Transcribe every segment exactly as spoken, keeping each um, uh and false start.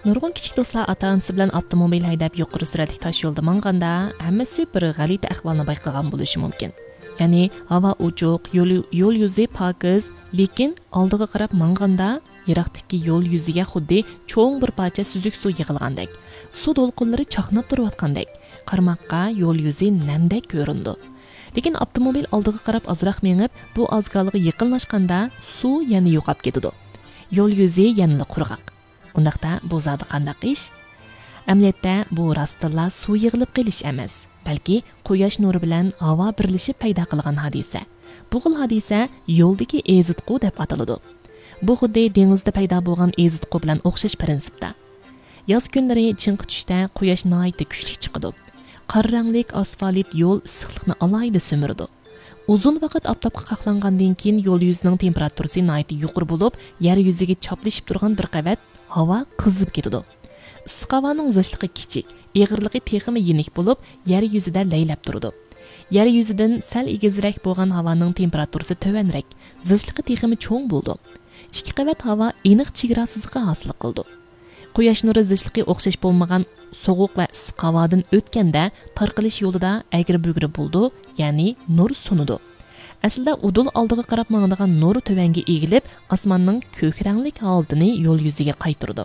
نۇرغۇن كىچىك دوستلار ئاتا-ئانىسى بىلەن ئاپتوموبىل ھەيدەپ يۇقىرى سۈرئەتلىك تاش يولدا ماڭغاندا، ھەممىسى بىر غەلىتە ئەھۋالنى بايقىغان بولۇشى مۇمكىن. يەنى ھاۋا ئوچۇق، يول، يول يۈزى پاكىز، لېكىن ئالدىغا قاراپ ماڭغاندا، يىراقتىكى يول يۈزىگە خۇددى چوڭ بىر پارچە سۈزۈك سۇ يىغىلغاندەك، سۇ دولقۇنلىرى چاقناپ تۇرۇۋاتقاندەك، قارىماققا يول يۈزى نەمدەك كۆرۈنىدۇ. لېكىن ئاپتوموبىل ئالدىغا قاراپ ئازراق مېڭىپ، بۇ ئازگالغا يېقىنلاشقاندا، سۇ يەنە يوقاپ كېتىدۇ. يول يۈزى يەنىلا قۇرغاق. ئۇنداقتا بۇ زادى قانداق ئىش؟ ئەمەلىيەتتە بۇ راستتىنلا سۇ يىغىلىپ قېلىش ئەمەس، بەلكى قۇياش نۇرى بىلەن ھاۋا بىرلىشىپ پەيدا قىلغان ھادىسە. بۇ خىل ھادىسە يولدىكى ئېزىتقۇ دەپ ئاتىلىدۇ. بۇ خۇددى دېڭىزدا پەيدا بولغان ئېزىتقۇ بىلەن ئوخشاش پىرىنسىپتا. ياز كۈنلىرى چىڭقى چۈشتە قۇياش ناھايىتى كۈچلۈك چىقىدۇ. قارا رەڭلىك ئاسفالت يول ئىسسىقلىقنى ئالاھىدە سۈمۈرىدۇ. ئۇزۇن ۋاقىت ئاپتاپقا قاقلانغاندىن كېيىن يول يۈزىنىڭ تېمپېراتۇرىسى ناھايىتى يۇقىرى بولۇپ، يەر يۈزىگە چاپلىشىپ تۇرغان بىر قەۋەت ھاۋا قىزىپ كېتىدۇ. ئىسسىق ھاۋانىڭ زىچلىقى كىچىك، ئېغىرلىقى تېخىمۇ يېنىك بولۇپ، يەر يۈزىدە لەيلەپ تۇرىدۇ. يەر يۈزىدىن سەل ئېگىزرەك بولغان ھاۋانىڭ تېمپېراتۇرىسى تۆۋەنرەك، زىچلىقى تېخىمۇ چوڭ بولىدۇ. ئىككى قەۋەت ھاۋا ئېنىق چېگرا سىزىقى ھاسىل قىلىدۇ. قۇياش نۇرى زىچلىقى ئوخشاش بولمىغان سوغۇق ۋە ئىسسىق ھاۋادىن ئۆتكەندە، تارقىلىش يولىدا ئەگرى-بۈگرى بولىدۇ، يەنى نۇر سۇنىدۇ. ئەسلىدە ئۇدۇل ئالدىغا قاراپ ماڭىدىغان نۇر تۆۋەنگە ئېگىلىپ، ئاسماننىڭ كۆك رەڭلىك ھالىتىنى يول يۈزىگە قايتۇرىدۇ.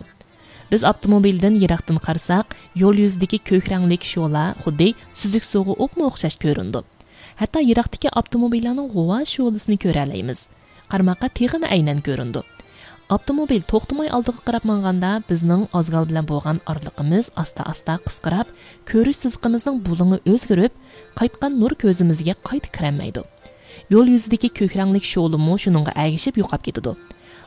بىز ئاپتوموبىلدىن يىراقتىن قارىساق، يول يۈزىدىكى كۆك رەڭلىك شولا خۇددى سۈزۈك سۇغا ئوپمۇ ئوخشاش كۆرۈنىدۇ. ھەتتا يىراقتىكى ئاپتوموبىللارنىڭ غۇۋا شولىسىنى كۆرەلەيمىز. قارىماققا تېخىمۇ ئەينەن كۆرۈنىدۇ. ئاپتوموبىل توختىماي ئالدىغا قاراپ ماڭغاندا، بىزنىڭ ئازگال بىلەن بولغان ئارىلىقىمىز ئاستا-ئاستا قىسقىراپ، كۆرۈش سىزىقىمىزنىڭ بۇلۇڭى ئۆزگىرىپ، قايتقان نۇر كۆزىمىزگە قايتا كىرەلمەيدۇ. يول يۈزىدىكى كۆك رەڭلىك شولىمۇ شۇنىڭغا ئەگىشىپ يوقاپ كېتىدۇ.